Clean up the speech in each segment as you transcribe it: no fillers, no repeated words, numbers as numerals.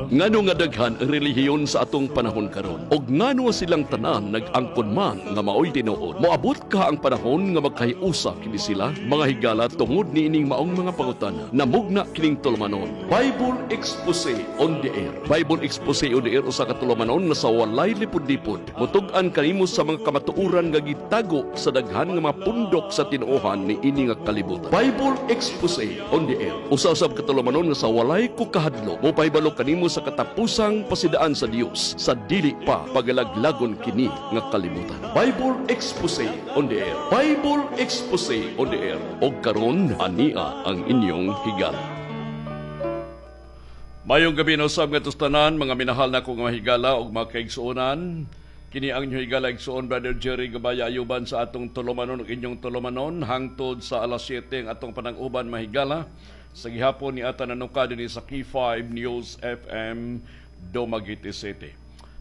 Ngano nga daghan ang relihiyon sa atong panahon karon? Og ngano silang tanan nag-angkon man nga maoy tinuod? Moabot kaha ang panahon nga magkahiusa kini sila? Mga higala, tungod niining maong mga pangutana, namugna kining tulumanon, Bible Expose on the Air. Bible Expose on the Air, usa ka tulumanon nga sa walay lipod-lipod mutug-an kanimo sa mga kamatuoran nga gitago sa daghan nga mga pundok sa tinuohan niini nga kalibutan. Bible Expose on the Air, usa usab ka tulumanon nga sa walay ko kahadlo mopahibalo kanimo sa katapusang pasidaan sa Dios sa dili pa pagalaglagon kini nga kalibutan. Bible Expose on the Air. Bible Expose on the Air. Og karon, ania ang inyong higala. Mayong gabi na usab nga tanan, mga minahal na kong mga higala ug mga kaigsuonan. Kini ang inyong higala igsuon, Brother Jerry Gabaya, ayuban sa atong tulumanon ug inyong tulumanon hangtod sa alas 7 ang atong panang-uban, mahigala. Sa gihapon ni ata nanuka dinhi sa K5 News FM, Dumaguete City.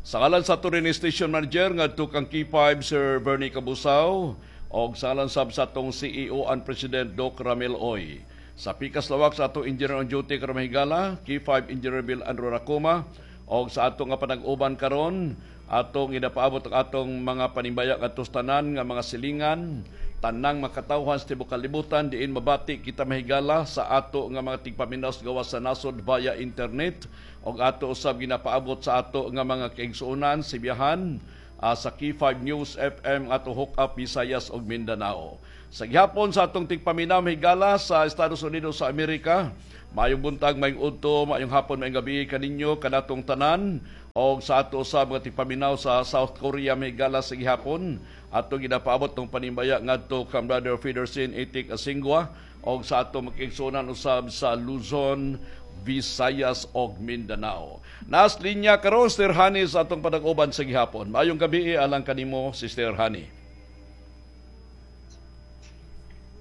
Sa ngalan sa ato rin station manager ngadto kang K5 Sir Bernie Cabusaw og sa ngalan sab sa atong CEO and President Doc Ramil Oy. Sa pikas lawak sa atong engineer on duty karon, mahigala, K5 Engineer Bill Andrew Racoma, og sa atong nga panag-uban karon, atong inapaabot ang atong mga panimbaya ngadto tanan nga mga silingan, tanang makatawhan sa tibuok kalibutan diin mabati kita, mahigala, sa ato nga mga tigpaminaw gawas sa nasod via internet, og ato usab ginapaabot sa ato nga mga kaigsuonan sibiyahan sa K5 News FM ato hook up Visayas ug Mindanao. Sa gihapon sa atong tigpaminaw, mahigala, sa Estados Unidos sa Amerika, maayong buntag, maayong udto, maayong hapon, maayong gabi kaninyo kanatong tanan, og sa ato sa mga tigpaminaw sa South Korea, mahigala, sa gihapon ato ginapaabot tong panimbaya ngadto kang Brother Federson Itik Asingwa og sa ato makigsuonan usab sa Luzon, Visayas og Mindanao. Nas linya karon Sister Honey sa atong panag-uban sa gihapon. Maayong gabi alang kanimo, Sister Honey.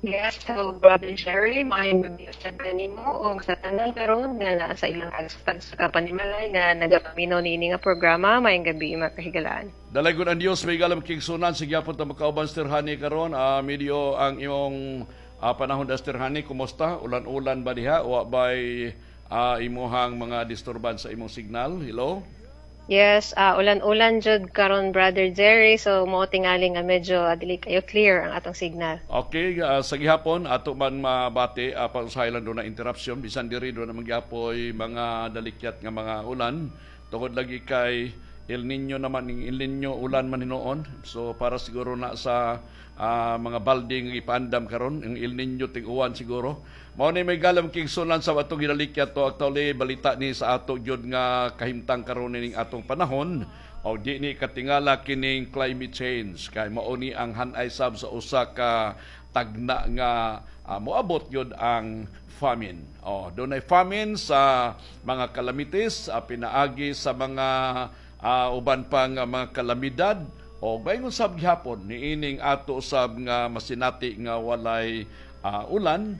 Yes, hello, Brother Jerry, maayong gabi sa kanimo ug sa tanan karon nga naa sa ilang agstag sa kapanimalay nga nagapaminaw niini nga programa. Maayong gabi, mga kahigalaan. Dalaygon ang Dios, may galam kigsunan sige gyapon ta makauban, Sister Honey, karon. Medyo ang imong panahon da, Sister Honey, kumusta? Ulan-ulan ba diha? Wa bay imuhang mga disturbance sa imong signal? Hello? Yes, ulan-ulan jud karon, Brother Jerry, so mao tingali nga medyo dili kayo clear ang atong signal. Okay, sa gihapon ato man mabati pausahay lang do na interruption, bisan diri do na magyapoy mga dalikyat nga mga ulan tungod lagi kay El Niño naman, ning El Niño ulan man hinuon. So para siguro na sa mga balde nga ipaandam karon ang El Niño, ting-uwan siguro. Mao ni may galam kigsunan sa atong ginalikyat to. Actually, balita ni sa ato gyud nga kahimtang karon ning atong panahon o di ni katingala kining climate change kay mao ni ang hanay sab sa usa ka tagna nga moabot gyud ang famine. Oh, dunay famine sa mga calamities, pinaagi sa mga uban pang mga kalamidad o bayngon sab gihapon niining ato sab nga masinati nga walay ulan,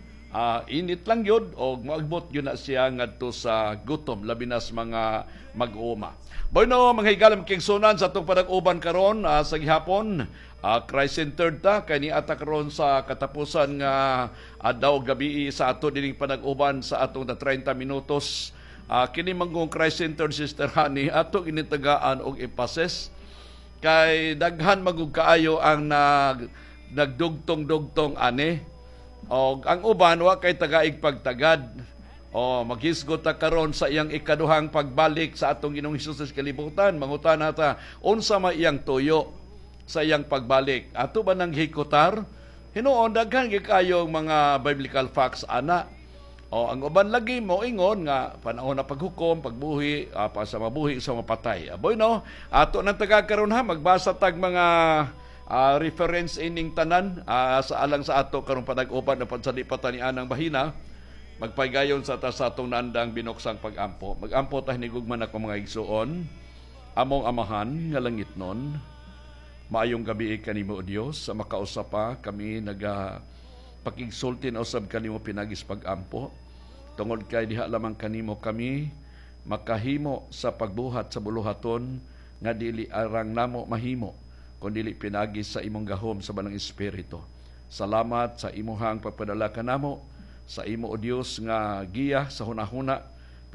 init lang yun o moabot yun na siya ngadto sa gutom, labi na sa mga mag-uuma. Bueno, mga higalam kigsunan, sa atong panag-uban karon sa gihapon, Christ-centered ta kay ni ata karon sa katapusan nga adlaw gabi sa ato dining panag-uban sa atong 30 minutos. Kini manggong Christ-centered, Sister Honey, ato initagaan og emphasis kay daghan magug kaayo ang nagdugtong-dugtong ani og ang uban wa kay tagaig pagtagad. O maghisgot ta karon sa iyang ikaduhang pagbalik sa atong Ginoong Hesus sa kalibutan. Mangutana ta unsa may iyang tuyo sa iyang pagbalik? Ato ba nang hikutar? Hinuon daghan gyud kayong mga biblical facts ana. O ang uban lagi mo ingon nga panahon na paghukom, pagbuhi, pa sa mabuhi sa mapatay. Aboy no, ato nang taga karon ha, magbasa tag mga reference ining tanan sa alang sa ato karong panag-uban na pansali pa ni anang bahina. Magpaygayon sa ta sa atong nandang binuksang pag-ampo. Mag-ampo ta hinigugma nako mga igsuon. Among Amahan nga langitnon, maayong gabi kanimo, O Dios, sa makausa pa kami naga pakigsulti na usab kanimo pinagis pag-ampo tungod kay diha lamang kanimo kami makahimo sa pagbuhat sa buluhaton nga dili arang namo mahimo kun dili pinagi sa imong gahom sa Banang Espiritu. Salamat sa imuhang pagpadala kanamo sa imo, O Dios, nga giya sa hunahuna.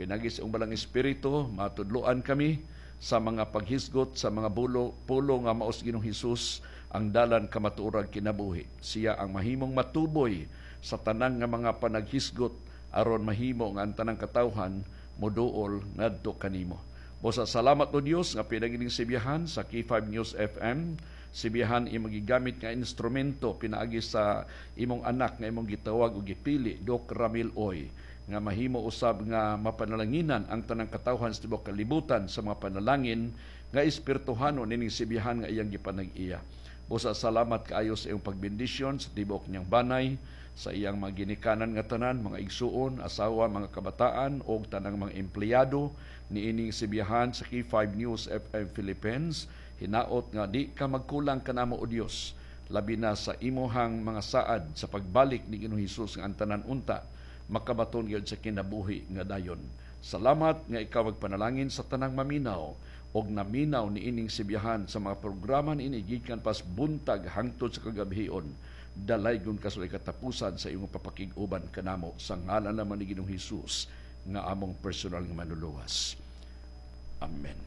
Pinagi sa iyong balang Espiritu, matudloan kami sa mga paghisgot sa mga bulo, pulo nga maos Ginoong Hesus ang dalan, kamatuoran, kinabuhi. Siya ang mahimong matuboy sa tanan nga mga panaghisgot aron mahimo nga ang tanang katawhan moduol ngadto kanimo. Busa salamat, O Dios, nga pinagining sibihan sa K5 News FM, sibihan imong gigamit nga instrumento pinaagi sa imong anak nga imong gitawag ug gipili, Doc Ramil Oy, nga mahimo usab nga mapanalanginan ang tanang katawhan sa tibuok kalibutan sa mga panalangin nga espirituhanon nining sibihan nga iyang gipanag-iya. Busa salamat kaayo sa iyong pagbendisyon sa tibuok niyang banay, sa iyang mga ginikanan nga tanan, mga igsuon, asawa, mga kabataan og tanang mga empleyado niining sibihan sa K5 News FM Philippines. Hinaot nga di ka magkulang kanamo, O Dios, labi na sa imuhang mga saad sa pagbalik ni Ginoong Hesus, nga ang tanan unta makabaton gyud sa kinabuhi nga dayon. Salamat nga ikaw magpanalangin sa tanang maminaw og naminaw niining sibihan sa mga programa niini gikan pas buntag hangtod sa kagabhion. Dalaygon ka sa katapusan sa imong papakig-uban kanamo, sa ngalan naman ni Ginoong Hesus nga among personal nga manluluwas. Amen.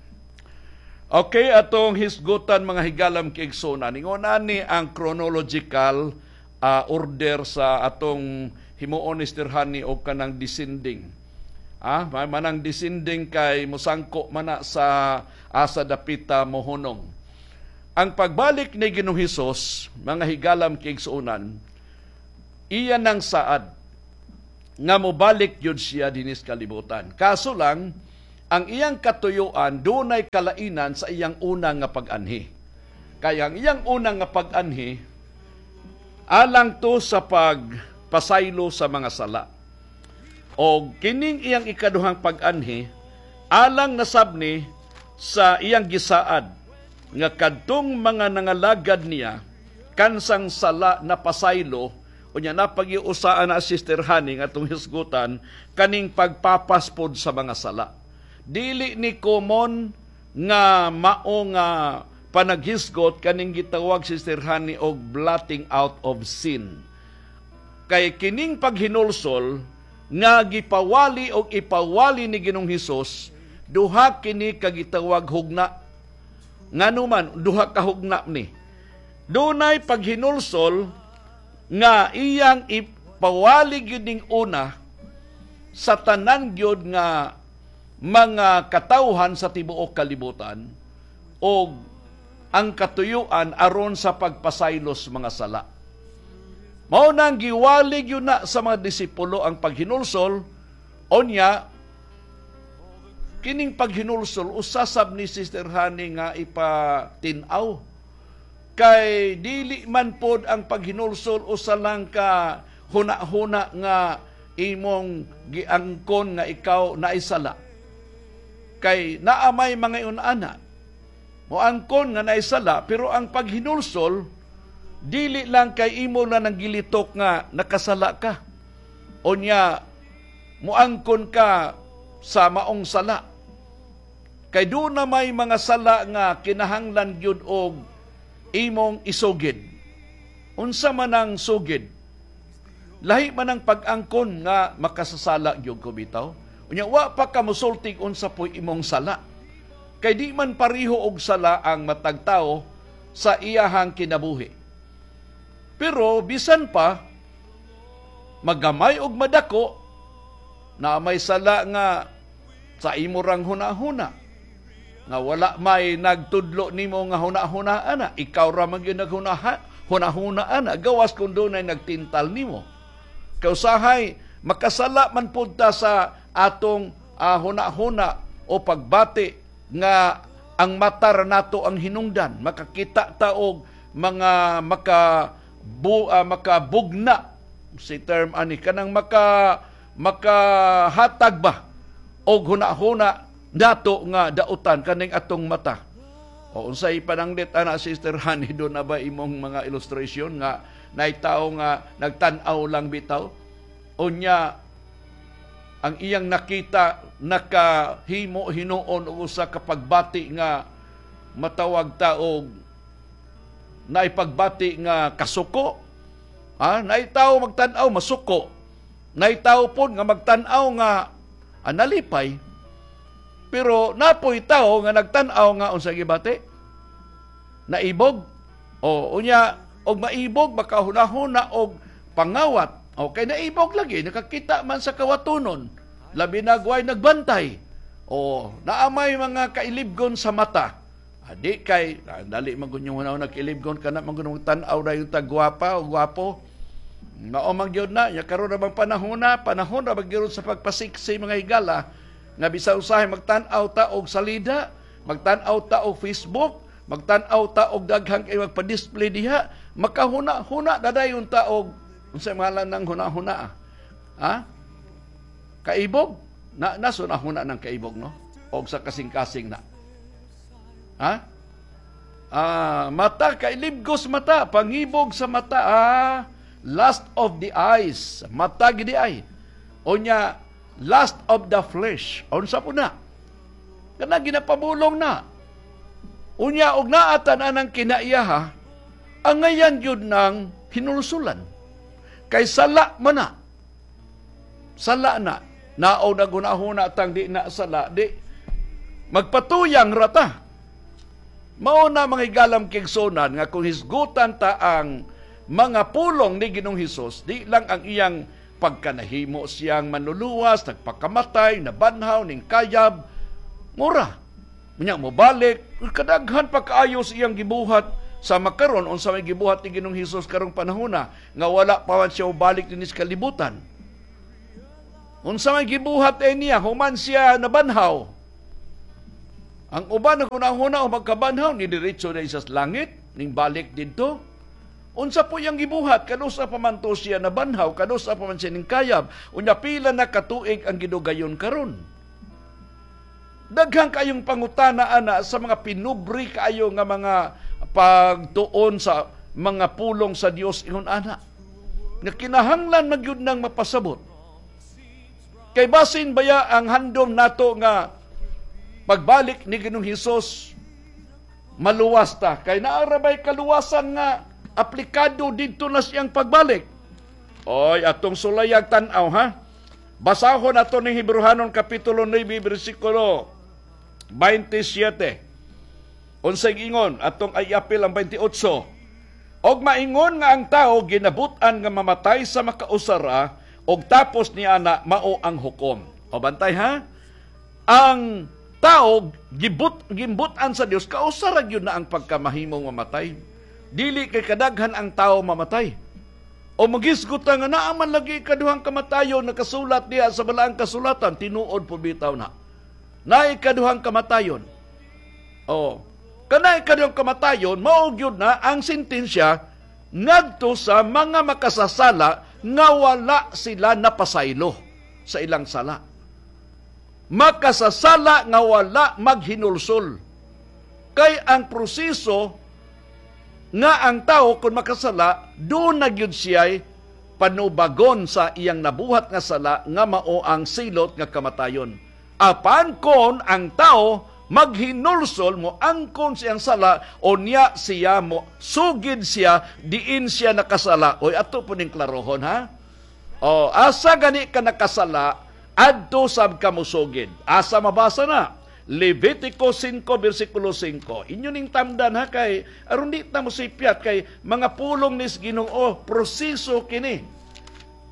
Okay, atong hisgutan, mga higalam kaigsuonan. Ingon ani ang chronological order sa atong himuon ni Sister Honey og kanang descending. Manang descending kay musangko mana sa asa dapita mohunong. Ang pagbalik ni Ginoong Hesus, mga higalam kaigsuonan, iya nang saad nga mobalik yun siya dinis kalibutan. Kaso lang, ang iyang katuyuan dunay kalainan sa iyang una nga pag-anhi. Kaya ang iyang una nga pag-anhi alang to sa pagpasaylo sa mga sala. O kining iyang ikaduhang pag-anhi alang nasab ni sa iyang gisaad nga kadtong mga nangalagad niya kansang sala na pasaylo. Unya napagiusaan na, Sister Honey, nga atong hisgutan kaning pagpapaspod sa mga sala. Dili ni common nga mao nga panaghisgot kaning gitawag, Sister Honey, og blotting out of sin. Kay kining paghinulsol nga gipawali og ipawali ni Ginoong Hesus, duha kini kagitawag hugna. Ngano man duha ka hugna ni? Dunay paghinulsol nga iyang ipawali gyud ning una sa tanan gyud nga mga katawhan sa tibuok kalibutan og ang katuyuan aron sa pagpasaylos mga sala. Mao nang giwali gyud na sa mga disipulo ang paghinulsol. Onya kining paghinulsol usasab ni Sister Honey nga ipatin-aw, kay dili man pod ang paghinulsol usa lang ka huna-huna nga imong giangkon nga ikaw naisala. Kay naa may mga ingon-ana moangkon nga naisala, pero ang paghinulsol dili lang kay imo na nang gilitok nga nakasala ka. Unya moangkon ka sa maong sala. Kay doon na may mga sala nga kinahanglan gyud og imong isugid. Unsa man ang sugid? Lahi man ang pag-angkon nga makasasala gyud ko bitaw. Unya wa pa ka mosultig unsa po'y imong sala. Kay di man pariho og sala ang matag tawo sa iyahang kinabuhi. Pero bisan pa magamay og madako, na may sala nga sa imo rang huna-huna nga wala may nagtudlo nimo nga huna-huna ana, ikaw ra man gyud naghuna-huna ana, gawas kung dunay nagtintal nimo. Kausahay makasala man pud ta sa atong huna-huna o pagbati nga ang mata ra nato ang hinungdan, makakita ta og mga makabugna si term ani, kanang makahatag ba og huna-huna nato nga dautan kaning atong mata. O unsay pananglit ana, Sister Honey, do na ba imong mga illustration nga naitaw nga nagtan-aw lang bitaw, unya ang iyang nakita nakahimo hinuon og usa ka pagbati nga matawag ta og naipagbati nga kasuko. Naitaw magtan-aw masuko. Naitaw pod nga magtan-aw nga Nalipay. Pero napoy tao nga nagtan-aw nga unsa gibati? Naibog. O unya og maibog, makahuna-huna og pangawat. O kay naibog lagi, nakakita man sa kawatunon. Labi na gway nagbantay. O naamay mga kailibgon sa mata. Adi kay dali man gud yung una kailibgon kana man gud tan-aw ra yung tagwapa o gwapo. Mao man gyud na nya karon ra bang panahon na, panahon ra gyud sa pagpasiksi, mga higala, nga bisan usahay magtan-aw ta og salida, magtan-aw ta og Facebook, magtan-aw ta og daghang kay magpa-display diha, makahuna-huna dadayon ta og unsay ngalan ng huna-huna? Ha? Kaibog? Na naso na huna ng kaibog, no? Og sa kasing-kasing na. Ha? Mata, kailibgos mata, pangibog sa mata, lust of the eyes, mata gidi ay. Unya, lust of the flesh, unsa po na? Kana ginapabulong na. Unya, og naatan anang kinaiyaha, angayan yun ng hinulsulan. Kay sala man na. Sala na. Nao na gunahuna tang di na sala, di magpatuyang rata. Mao na, mga higalam kigsunan, nga kung hisgutan ta ang mga pulong ni Ginoong Hesus, di lang ang iyang pagkanahimo siyang manluluwas, nagpakamatay, nabanhaw, ning kayab, mura. Unya mo balik, kadaghan pa kaayo sa iyang gibuhat sa makaron, unsa may gibuhat ni Ginoong Hesus karong panahona nga wala pa man siya balik dinhi sa kalibutan. Unsa may gibuhat eh niya human siya nabanhaw? Ang uban naghuna-huna o magkabanhaw ni diretso na sa langit ning balik didto. Unsa po yang gibuhat kanusa pa man to siya nabanhaw, kanusa pa man siya ning kayab, unya pila na katuig ang gidugayon karon? Daghang kayong pangutana ana sa mga pinubri kaayo nga mga pagtuon sa mga pulong sa Dios ingon ana. Nga kinahanglan magyud nang mapasabot. Kay basin baya ang handom nato nga pagbalik ni Ginoong Hesus maluwas ta, kay naarabay kaluwasan nga aplikado didto na siyang pagbalik? Oy, atong sulayag tan-aw ha. Basahon ato ning Hebreohanon kapitulo 9 bersikulo 27. Unsay ingon atong ay apil ang 28? Og maingon nga ang tao ginabut-an nga mamatay sa makausara og tapos niya na mao ang hukom. O bantay ha. Ang tao gimbut-an sa Dios, kausara gyud na ang pagkamahimong mamatay. Dili kay kadaghan ang tao mamatay. O magisgot nga naa man lagi kaduhang kamatayon nakasulat diha sa balaang kasulatan, tinuod po bitaw na. Naay kaduhang kamatayon. O kanay kaduhang kamatayon, mao gyud na ang sentensya ngadto sa mga makasasala nga wala sila napasaylo sa ilang sala. Makasasala nga wala maghinulsol. Kay ang proseso nga ang tao kung makasala, doon na gyud siya'y panubagon sa iyang nabuhat nga sala nga mao ang silot nga kamatayon. Apan kon ang tao maghinulsol, mo angkon siyang sala, o niya siya mo sugid siya diin siya nakasala. Oy, ato po ning klarohon ha. O asa gani ka nakasala, adto sab ka mosugid. Asa mabasa na? Levitico 5 versikulo 5. Inyo ning tamdan ha, kay aron di ta mosipyat, kay mga pulong nis Ginoo, proseso kini.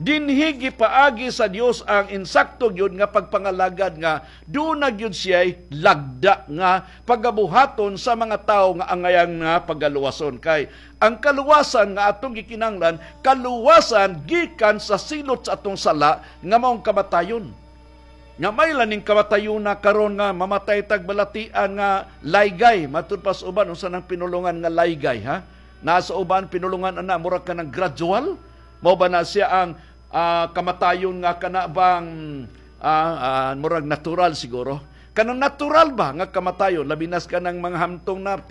Dinhi gipaagi sa Dios ang insakto gyud nga pagpangalagad nga doon na gyud siya'y lagda nga pagabuhaton sa mga tawo nga angayang nga pagaluwason. Kay ang kaluwasan nga atong gikinahanglan, kaluwasan gikan sa silot sa atong sala nga maong kamatayon. Nga may laning kamatayon na karon nga mamatay tag balatian nga laygay, matud pa sa uban unsa nang pinulungan nga laygay ha? Nasa uban pinulungan ana murag ka ng gradual. Mao ba na siya ang kamatayon nga kana bang murag natural siguro? Kanang natural ba nga kamatayon, labi nas kanang mga hamtong na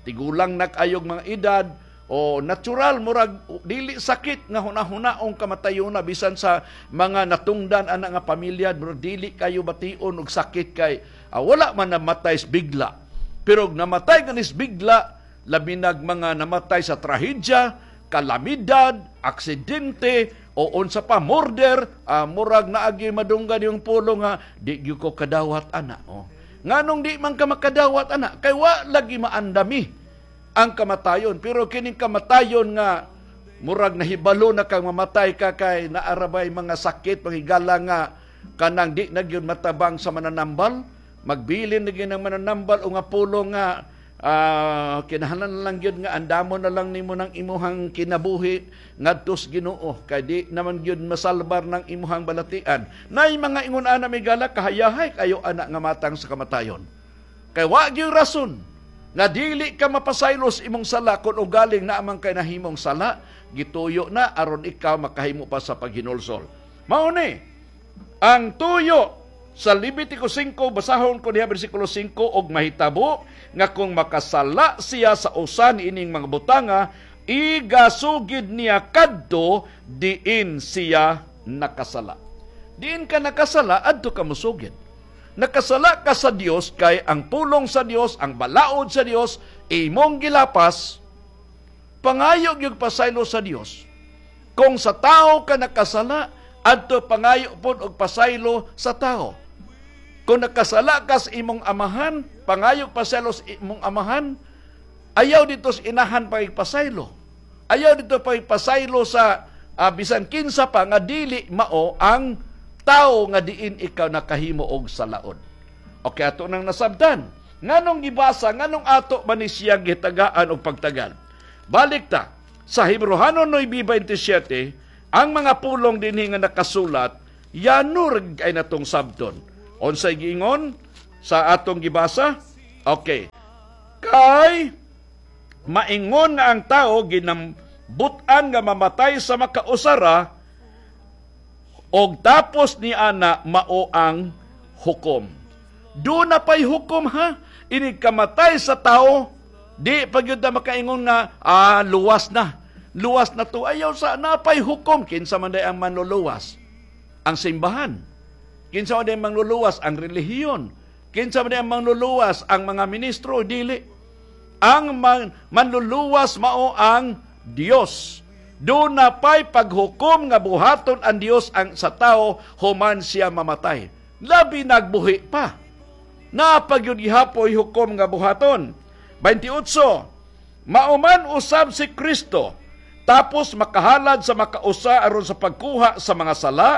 tigulang na kayog mga edad, o natural murag dili sakit nga hunahuna-ong kamatayon na bisan sa mga natungdan ana nga pamilya, murag dili kayo bation og sakit kay wala man namatay bigla. Pero namatay ganis bigla, labi nag mga namatay sa trahedya, kalamidad, aksidente, o unsa pa, murder, murag naagi madunggan yung pulong nga di gyud ko kadawat ana. Oh. Nganong di man ka makadawat ana? Kay wa lagi maandami ang kamatayon, pero kining kamatayon nga murag nahibalo na kang mamatay ka kay naarabay mga sakit, panghigala nga kanang di na gyud matabang sa mananambal, magbilin na gyud ang mananambal o nga pulong nga kinahanglan na lang gyud nga andamo na lang nimo ng imuhang kinabuhi ngadto sa Ginoo kay di naman gyud masalbar ng imuhang balatian. Nay mga ingon ana, migala, kahayahay kayo ana nga matang sa kamatayon. Kay wa gyud rason nga dili ka mapasaylo sa imong sala kung ugaling na amang kay nahimong sala, gituyo na aron ikaw makahimo pa sa paghinulsol. Mao ni ang tuyo sa Levitico 5, basahon ko diha bersikulo 5, og mahitabo nga kung makasala siya sa usa niining mga butanga, igasugid niya kadto diin siya nakasala. Diin ka nakasala, adto ka mosugid. Nakasala ka sa Dios kay ang pulong sa Dios, ang balaod sa Dios, imong gilapas, pangayo gyud pasaylo sa Dios. Kung sa tao ka nakasala, adto pangayo pod og pasaylo sa tao. Kung nakasala ka sa imong amahan, pangayo pasaylo sa imong amahan, ayaw dito sa inahan pagpasaylo. Ayaw dito pagpasaylo sa bisan kinsa pa nga dili mao ang tao nga diin ikaw nakahimo og salaod. Okay, ato nang nasabtan. Nganong gibasa, nganong ato man ni siya gitagaan og pagtagal? Balik ta sa Hebreohanon 9:27, ang mga pulong dinhi nga nakasulat, yanur ay natong sabton. Unsay giingon sa atong gibasa? Okay. Kay maingon nga ang tao ginambutan nga mamatay sa makausara og tapos ni ana mao ang hukom. Do na pa'y hukom ha? Inig kamatay sa tao, di pa gyud na makaingon nga luwas na. Luwas na to. Ayaw sa napay hukom. Kinsa man day ang manluluwas? Ang simbahan. Kinsa man day ang manluluwas? Ang relihiyon. Kinsa man day ang manluluwas? Ang mga ministro. Dili. Ang manluluwas mao ang Dios. Do na pa'y paghukom nga buhaton ang Dios ang sa tao human siya mamatay. Labi nagbuhi pa. Napagyud gihapoy hukom nga buhaton. 28. Mauman usab si Kristo tapos makahalad sa makausa aron sa pagkuha sa mga sala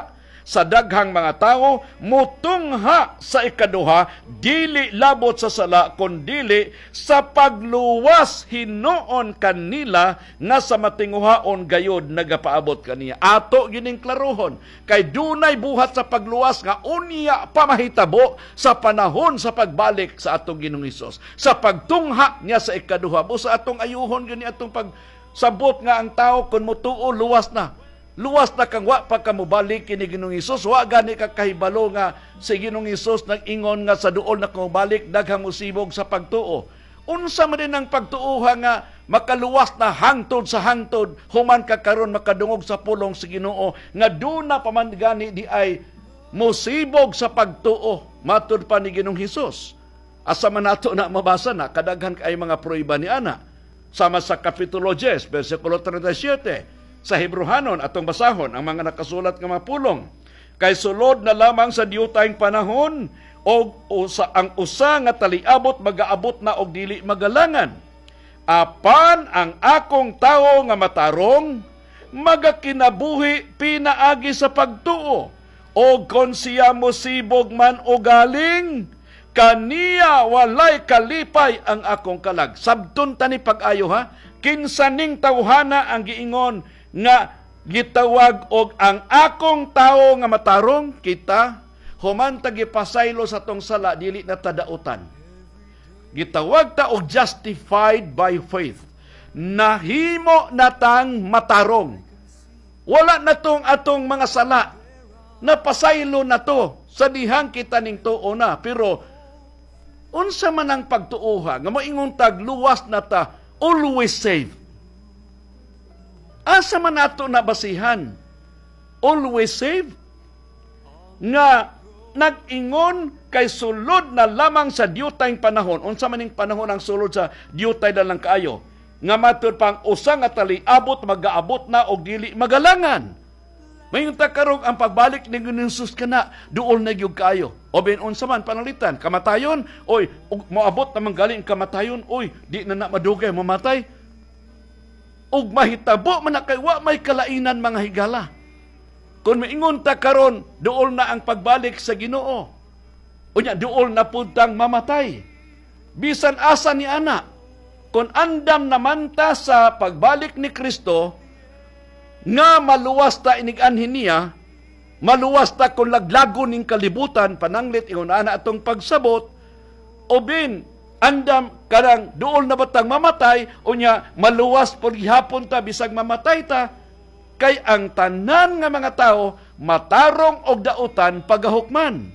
sa daghang mga tao, mutungha sa ikaduha, dili labot sa sala, kundili sa pagluwas hinuon kanila nga sa matinguhaon gayod nagapaabot kaniya. Ato gining klarohon, kay dunay buhat sa pagluwas nga unya pa mahitabo sa panahon sa pagbalik sa atong Ginoong Hesus. Sa pagtungha niya sa ikaduha, busa atong ayuhon gani atong pagsabot nga ang tao kun motuo luwas na. Luwas na kang wa pa ka mobalik kini Ginoong Hesus, wa gani ka kahibalo nga si Ginoong Hesus nag-ingon nga sa duol na kumubalik daghang mosibog sa pagtuo. Unsa man din ang pagtuoha nga makaluwas na hangtod sa hangtod human ka karon makadungog sa pulong sa Ginoo nga duna pa man gani di ay mosibog sa pagtuo matud pa ni Ginoong Hesus. Asa man nato na mabasa na kadaghan kay mga prueba ni ana. Sama sa Kapitulo 10 bersikulo 37. Sa Hebreohanon atong basahon ang mga nakasulat nga mga pulong. Kay sulod na lamang sa diutayng panahon og usa ang usa nga taliabot magaabot na og dili magalangan. Apan ang akong tawo nga matarong magakinabuhi pinaagi sa pagtuo, og kon siya mosibog man o galing, kaniya walay kalipay ang akong kalag. Sabton ta ni pag-ayo ha, kinsa ning tawhana ang giingon nga gitawag og ang akong tawo nga matarong? Kita human ta gipasaylo sa tong sala, dili na tadautan. Gitawag ta og justified by faith. Nahimo natang matarong. Wala na tong atong mga sala. Napasaylo na to sa dihang kita ning tuo na. Pero unsa man ang pagtuoha nga moingon tag luwas na ta, always save? Asa man nato nabasihan? Always save? Nga nag-ingon kay sulod na lamang sa diutayng panahon. Unsa man ning panahon ang sulod sa diutay na lang kaayo? Nga matud pang usa nga taliabot magaabot na og dili magalangan. Mayon ta karong ang pagbalik ni Ginoong Hesus kana duol na gyud kaayo. O bin unsa man panalitan, kamatayon, oy, moabot naman galing kamatayon, oy, di na na madugay mamatay. Ug mahitabo man na kay wa may kalainan, mga higala. Kung maingon ta karon duol na ang pagbalik sa Ginoo. Unya duol na pud tang mamatay. Bisan asa ni ana, kung andam naman ta sa pagbalik ni Kristo, nga maluwas ta inig-anhin niya, maluwas ta kung laglagon ning kalibutan, pananglit ingon ana atong pagsabot, o bin andam karang duol na batang mamatay, unya maluwas pod gihapon ta bisag mamatay ta, kay ang tanan nga mga tao matarong og dautan pagahukman.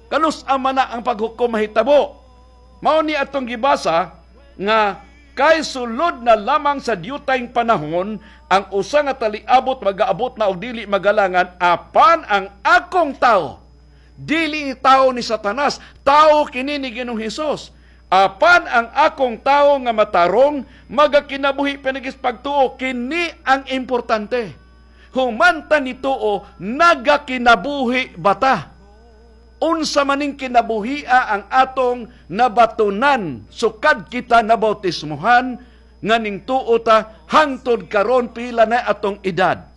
Kanus ama na ang paghukom mahitabo? Mao ni atong gibasa nga kay sulod na lamang sa diyutayng panahon ang usa nga taliabot magaabot na og dili magalangan, apan ang akong tao, dili tao ni Satanas, tao kini ni Ginoong Hesus. Apan ang akong tao nga matarong magakinabuhi pinagis pagtuo. Kini ang importante. Humanta ni tuo, nagakinabuhi bata? Unsa maning kinabuhia ang atong nabatunan sukad kita nabautismuhan nga ning tuo ta hangtod karon, pila na atong edad?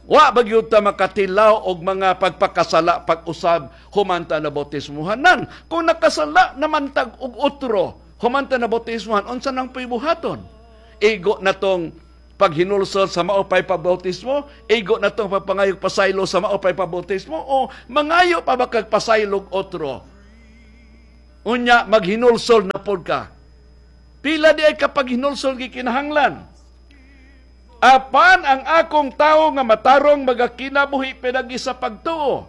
Wa ba gyud ta makatilaw og mga pagpakasala pag-usab humanta na bautismuhan nan? Kung nakasala naman tag og otro humanta na bautismuhan, unsa nang pibuhaton? Igo na tong paghinulsol sa maupay pabautismo? Igo na tong pagpangayog pasaylo sa maupay pabautismo? O mangayo pa ba kag pasaylog otro? Unya maghinulsol na pod ka. Pila di ay kapag hinulsol gikinahanglan? Apan ang akong tao nga matarong magakinabuhi pinagi sa pagtuo,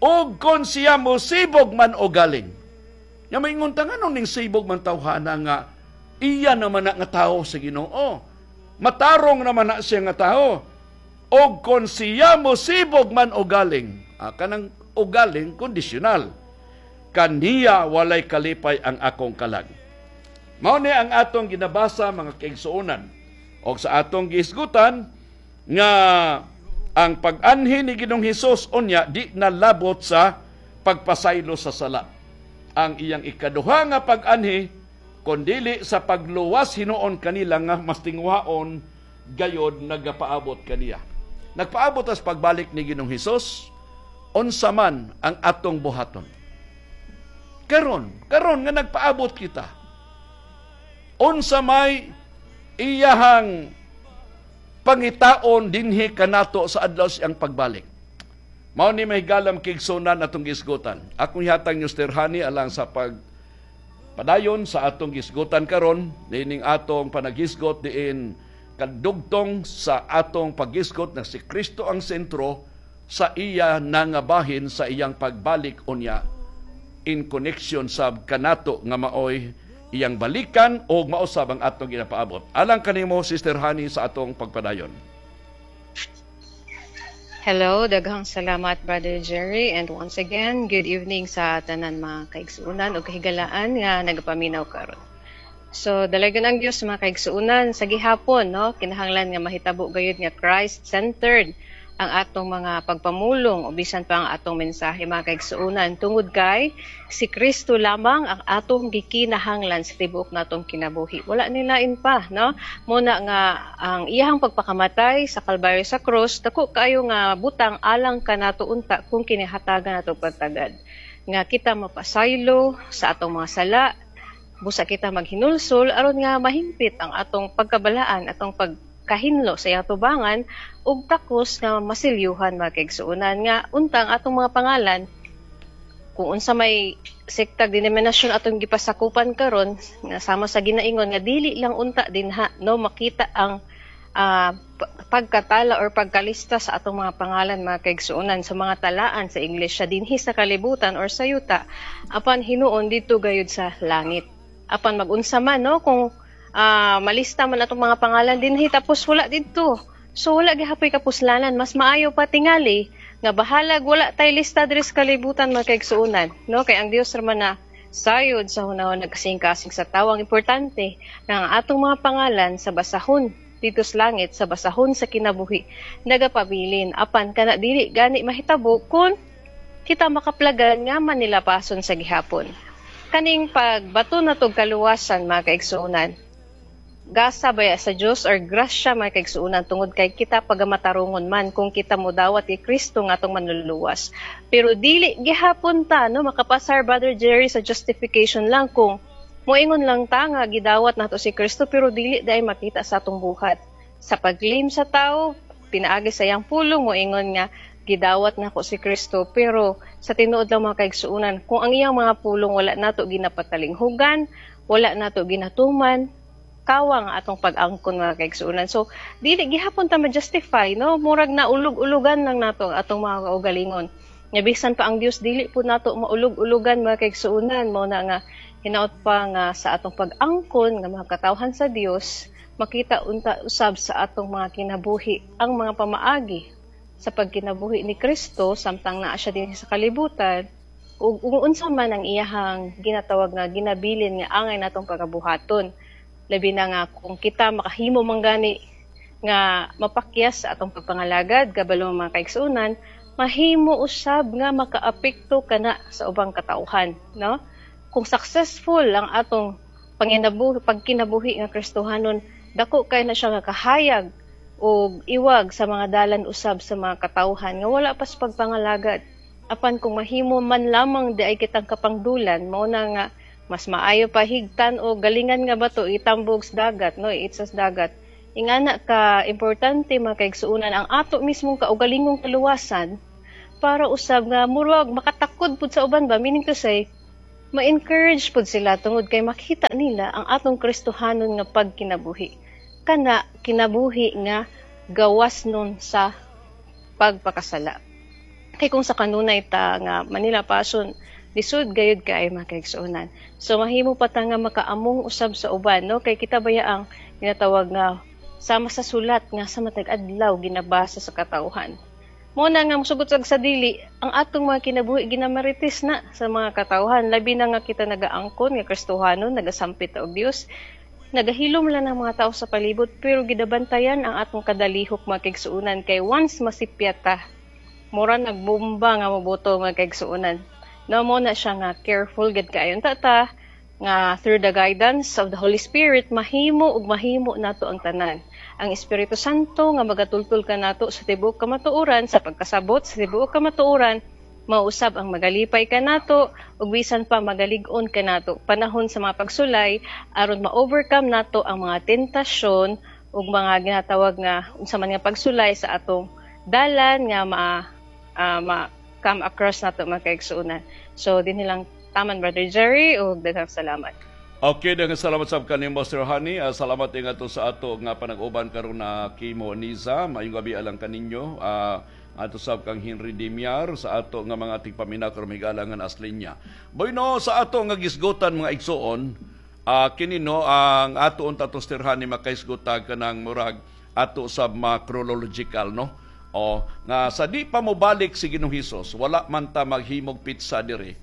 ug kon siya mosibog man o galing. Nya maingon ta, nganong ning sibog man tawhana nga iya naman na nga tao sa Ginoo? Matarong naman na siya nga tao. Og kon siya mosibog man o galing, kanang o galing kondisyonal, kaniya walay kalipay ang akong kalag. Mao ni ang atong ginabasa, mga kaigsuonan. Og sa atong gihisgutan nga ang pag-anhi ni Ginoong Hesus unya di nalabot sa pagpasaylo sa sala. Ang iyang ikaduha nga pag-anhi kondili sa pagluwas hinuon kanila nga mas tinguhaon gayod nagapaabot kaniya. Nagpaabot as pagbalik ni Ginoong Hesus, unsa man ang atong buhaton? Karon, karon nga nagpaabot kita, unsa may iyahang pangitaon dinhi kanato sa adlaw siyang pagbalik? Mao ni may galam kigsunan atong gisgutan. Akong ihatag niyo, Sister Hani, alang sa pag padayon sa atong gisgutan karon niining atong panagisgot diin kadugtong sa atong paggisgot na si Kristo ang sentro sa iya nangabahin sa iyang pagbalik unya in connection sa kanato nga maoy iyang balikan o mausab ang atong ginapaabot. Alang kanimo, Sister Hani, sa atong pagpadayon. Hello, daghang salamat, Brother Jerry, and once again, good evening sa tanan mga kaigsuonan ug kahigalaan nga nagapaminaw karon. So, dalagan ang Dios, mga kaigsuonan, sa gihapon, no, kinahanglan nga mahitabo gayud nga Christ-centered ang atong mga pagpamulong o bisan pa ang atong mensahe, mga kaigsuonan, tungod kay si Kristo lamang ang atong gikinahanglan sa tibuok natong kinabuhi. Wala nilain pa, no? Muna nga ang iyahang pagpakamatay sa Kalbaryo sa krus, dako kaayo nga butang alang kanato unta kung kinahatagan nato pagtagad nga kita mapasaylo sa atong mga sala, busa kita maghinulsol aron nga mahimpit ang atong pagkabalaan, atong pagkahinlo sa iyang tubangan ug takos nga masilyuhan, mga kaigsuonan, nga untang atong mga pangalan, kung unsa may sektag denominasyon atong gipasakupan karon, nga sama sa ginaingon nga dili lang unta dinha, no, makita ang pagkatala or pagkalista sa atong mga pangalan, mga kaigsuonan, sa mga talaan sa iglesia dinhi sa kalibutan or sa yuta, apan hinuon didto gayud sa langit. Apan magunsa man, no, kung malista man atong mga pangalan dinhi tapos wala didto, so wala gihapoy kapuslanan. Mas maayo pa tingali nga bahalag wala tay lista diri sa kalibutan, mga kaigsuonan, no, kay ang Dios ra man na sayod sa hunahon nagkasing-kasing sa tawo. Ang importante nga ang atong mga pangalan sa basahon Dito sa langit sa basahon sa kinabuhi nagapabilin. Apan kana dili gani mahitabo kung kita makaplagan nga manilapason sa gihapon. Kaning pagbato natog kaluwasan, mga kaigsuonan, gasa baya sa Dios or grasya, mga kaigsuonan, tungod kay kita pagamatarungon man kung kita modawat kay Kristo nga atong manluluwas. Pero dili gihapon ta, no, makapasar, Brother Jerry, sa justification lang kung moingon lang ta nga gidawat nato si Kristo pero dili dai makita sa atong buhat. Sa pag-claim sa tao pinaagi sa iyang pulong, moingon nga gidawat nako si Kristo, pero sa tinuod lang, mga kaigsuonan, kung ang iyang mga pulong wala nato ginapatalinghugan, wala nato ginatuman, kawang atong pag-angkon, mga kaigsuonan. So dili gihapon ta ma-justify, no, murag na ulog-ulugan lang nato ang atong mga kaugalingon. Nga bisan pa ang Dios dili po nato maulog-ulugan, mga kaigsuonan. Mao na nga hinaot pa nga sa atong pag-angkon nga mga katawhan sa Dios, makita unta usab sa atong mga kinabuhi ang mga pamaagi sa pagkinabuhi ni Kristo samtang naa siya din sa kalibutan ug unsa man ang iyahang ginatawag nga ginabilin nga angay natong pagabuhaton. Labi na nga kung kita makahimo man gani nga mapakyas sa atong pagpangalagad, kabalo, mga kaigsuonan, mahimo usab nga makaapekto kana sa ubang katawhan, no? Kung successful ang atong panginabuhi, pagkinabuhi nga Kristohanon, dako kay na siya nga kahayag og iwag sa mga dalan usab sa mga katawhan nga wala pa sa pagpangalagad. Apan kung mahimo man lamang di ay kitang kapangdulan, mao na nga mas maayo pa higtan o galingan nga bato itambog sa dagat, no, iitsa sa dagat. Ingana ka importante, mga kaigsuonan, ang ato mismong kaugalingong kaluwasan para usab nga murag makatakod pud sa uban ba, meaning to say ma-encourage pud sila tungod kay makita nila ang atong Kristohanon nga pagkinabuhi, kana kinabuhi nga gawas nun sa pagpakasala. Kay kung sa kanunay ta nga Manila Passion, lisod gayud kay, mga kaigsuonan. So mahimo pa ta nga makaamong usab sa uban, no, kay kita baya ang ginatawag nga sama sa sulat nga sa matag adlaw ginabasa sa katawhan. Mo na nga musugot sa dili, ang atong mga kinabuhi ginamarites na sa mga katawhan, labi na nga kita nagaangkon nga Kristohanon, nagasampit og Dios. Nagahilom lang ang mga tao sa palibot pero gidabantayan ang atong kadalihok, mga kaigsuonan, kay once masipyat ta, mura nagbomba nga moboto, mga kaigsuonan. No, mo na siya nga careful gid kaayo ta ta nga through the guidance of the Holy Spirit mahimo ug mahimo nato ang tanan. Ang Espiritu Santo nga magatultol kanato sa tibuok kamatuoran, sa pagkasabot sa tibuok kamatuoran, mausab ang magalipay kanato ug bisan pa magalig-on kanato panahon sa mga pagsulay aron ma-overcome nato ang mga tentasyon ug mga ginatawag nga unsa man nga pagsulay sa atong dalan nga ma come across nato, mga kaigsuonan. So dinhi lang taman, Brother Jerry, ug daghang salamat. Okay, daghang salamat sa kanimo, Sir Honey. Salamat din ato sa ato nga panag-uban karon na kimo Niza. Maayong gabi alang kaninyo. Ato sab kang Henry Dimiar sa ato nga mga tigpaminaw karon higala nga aslinya. Bueno, sa ato nga gisgutan, mga igsuon, kini, no, ang ato unta to, Sir Honey, makaisgutag kanang murag ato sa mga chronological, no. O nga sa di pa mobalik si Ginoong Hesus, wala man ta maghimog pizza diri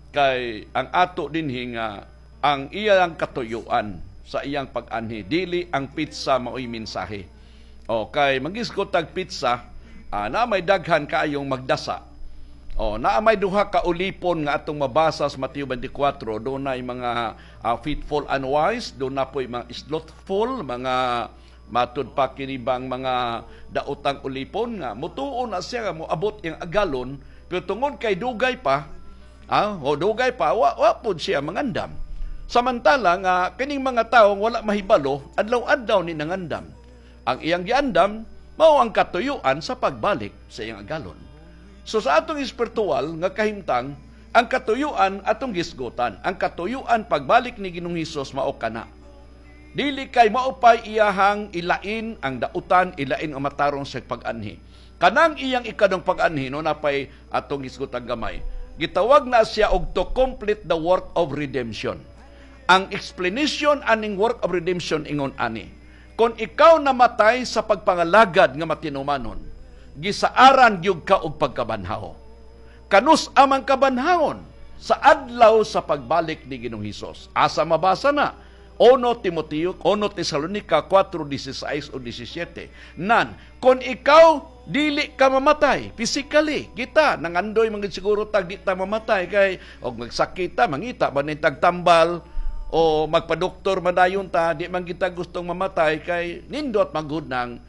kay ang ato dinhi nga ang iyang katuyuan sa iyang pag-anhi, dili ang pizza maoy mensahe. O kay magisgot tag pizza, na may daghan kaayong magdasa. O naa may duha ka ulipon nga atong mabasa sa Mateo 24, doon na mga faithful and wise, doon na po'y mga slothful, mga matud pa kini bang mga daotang ulipon nga mutuo na siya nga moabot iyang agalon, pero tungod kay dugay pa, o dugay pa, wa pud siya mangandam. Samantala nga kining mga tawo wala mahibalo, adlaw-adlaw ni nangandam. Ang iyang giandam mao ang katuyuan sa pagbalik sa iyang agalon. So sa atong espiritual nga kahimtang, ang katuyuan atong gisgutan. Ang katuyuan pagbalik ni Ginoong Hesus mao kana. Dili kay maupay iyahang ilain ang dautan, ilain ang matarong sa pag-anhi. Kanang iyang ikadong pag-anhi, no, napay atong gisgutan gamay. Gitawag na siya og to complete the work of redemption. Ang explanation aning work of redemption ingon ani. Kung ikaw namatay sa pagpangalagad nga matinumanon, gisaaran gyud ka og pagkabanhaw. Kanus amang kabanhawon? Sa adlaw sa pagbalik ni Ginoong Hesus. Asa mabasa na? 1 Timoteo, 1 Tesalonica 4:16 o 17. Nan, kung ikaw dili ka mamatay physically, kita nangandoy man siguro tag di ta mamatay kay og magsakit ta, mangita ba ning tagtambal o magpadoktor madayon ta, di man kita gustong mamatay kay nindot magud nang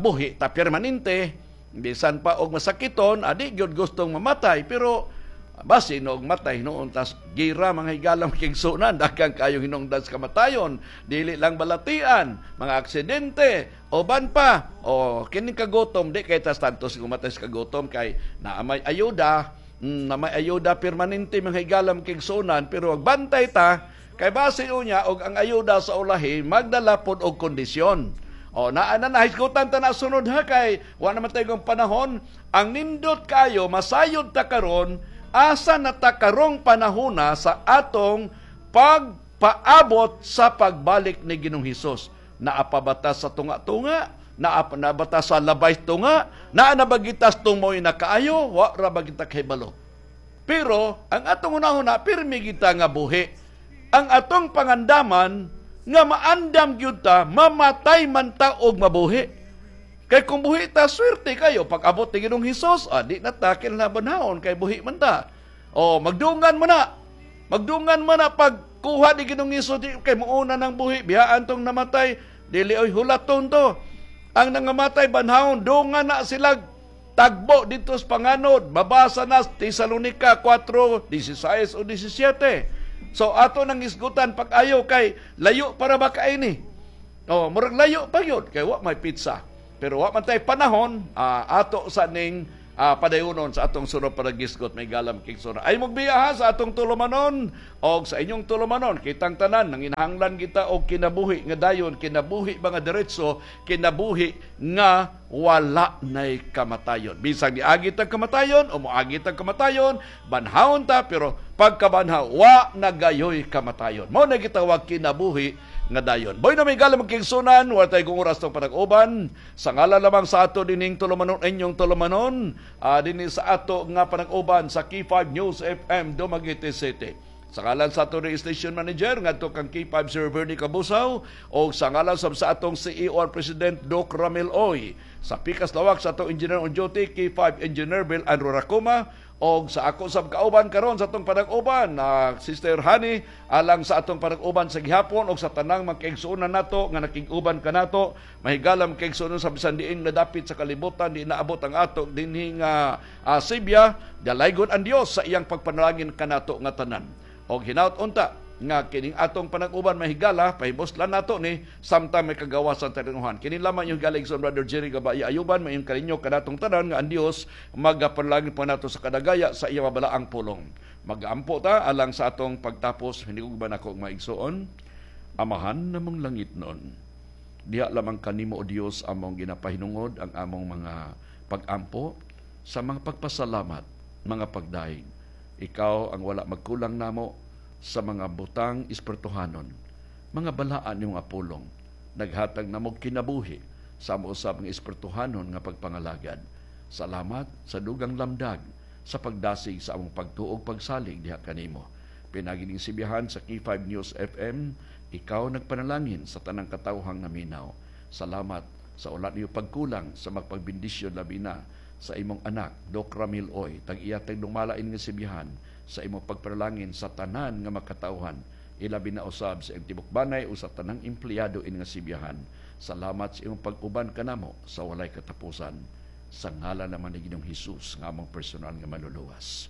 buhi ta permanente. Bisan pa og masakiton, adi gyud gustong mamatay, pero basin og matay noon tas gira mga higalang kigsunan, daghang kayong hinungdan sa kamatayon, dili lang balatian, mga aksidente o ban pa o kining kagutom, di kay tas tantos gumatay sa kagutom kay naa may ayuda, na may ayuda permanente mga higalang kigsunan, pero bantay ta kay base unya og ang ayuda sa ulahi magdala pod og kondisyon. O naa na nahisgutan ta na sunod ha kay wa naman tayong panahon. Ang nindot kayo masayod ta karon, asa na ta karong panahona sa atong pagpaabot sa pagbalik ni Ginoong Hesus. Naa pa ba ta sa tunga-tunga? Naa na ba ta sa labay tunga? Naa na ba gitas tumoy na kaayo? Wa ra ba kita kahibalo? Pero ang atong hunahuna pirmi kita nga buhi. Ang atong pangandaman nga maandam gyud ta, mamatay man ta og mabuhi. Kay kung buhi ta, swerte kayo. Pag abot ni Ginoong Hesus, di na ta kinalabanhaon kay buhi man ta. O, magdungan mo na. Magdungan mo na pag kuha ni Ginoong Hesus, di, kay muuna ng buhi, biyaan tong namatay, dili oy hulaton to. Ang nangamatay banhaon, dungan na sila tagbo dito sa panganod. Mabasa na Tesalonica 4:16 o 17. So ato nang isgutan pag ayo kay layo para ba kaini. O, murag layo pa yun kay wa may pizza. Pero wa man tay panahon, ato sa ning padayunon sa atong sunod panagisgot may galam kigsuna. Ay mugbiya ha sa atong tulumanon og sa inyong tulumanon kitang tanan nanginahanglan kita og kinabuhi nga dayon, kinabuhi mga diretso, kinabuhi nga wala nay kamatayon. Bisag niagi tag kamatayon o moagi tag kamatayon, banhawon ta pero pagkabanhaw wa na gayoy kamatayon. Mao na gitawag kinabuhi nga dayon. Boy na may galam kigsunan, wala tayo kung oras tong panag-uban. Sa ngalan lamang sa ato dining tulumanon, inyong tulumanon, dinhi sa ato nga panag-uban sa K5 News FM Dumaguete City. Sa ngalan sa ato ni Station Manager ngadto kang K5 Sir Bernie Kabusaw, o sa ngalan sa atong CEO and President Doc Ramil Oy. Sa pikas lawak sa atong Engineer on Duty K5 Engineer Bill Andrew Racoma, og sa ako sa kauban karon sa atong panag-uban na Sister Honey, alang sa atong panag-uban sa gihapon og sa tanang magkaigsuonan nato nga nakig-uban kanato, mahigalam kaigsuonan sa bisan diin nga dapit sa kalibutan di naabot ang ato dinhi nga Sibya, dalaygon ang Dios sa iyang pagpanalangin kanato nga tanan. Og hinaut unta nga kining atong panag-uban mahigala, pahibuslan nato ni samtang may kagawasan tarinuhan. Kini lamang yung galing sa Brother Jerry Gabaya Ayuban, mayong kaninyo kanatong tanan nga ang Dios magapanalangin po nato sa kadagaya sa iyang mabalaang pulong. Magampo ta alang sa atong pagtapos, hinigugban ako og maigsoon. Amahan namong langit noon, diha lamang kanimo o Dios among ginapahinungod ang among mga pagampo sa mga pagpasalamat, mga pagdaig. Ikaw ang wala magkulang namo sa mga butang espirituhanon, mga balaan niyong apulong, naghatag namo kinabuhi sa amo usab nga espirituhanon nga pagpangalagad. Salamat sa dugang lamdag sa pagdasig sa among pagtuog pagsalig diha kanimo. Pinagining sibihan sa K5 News FM, ikaw nagpanalangin sa tanang katawhang naminaw. Salamat sa ulat niyo pagkulang sa magpagbendisyon labi na sa imong anak, Doc Ramil Oy, tag-iya tag dumalain nga sibihan sa imong pagpanalangin sa tanan nga makatawhan, ilabi na usab sa imong tibok-banay o sa tanang empleyado ini nga sibihan. Salamat sa imong pag-uban kanamo sa walay katapusan. Sa ngalan naman ni Ginoong Hesus nga among personal nga manluluwas.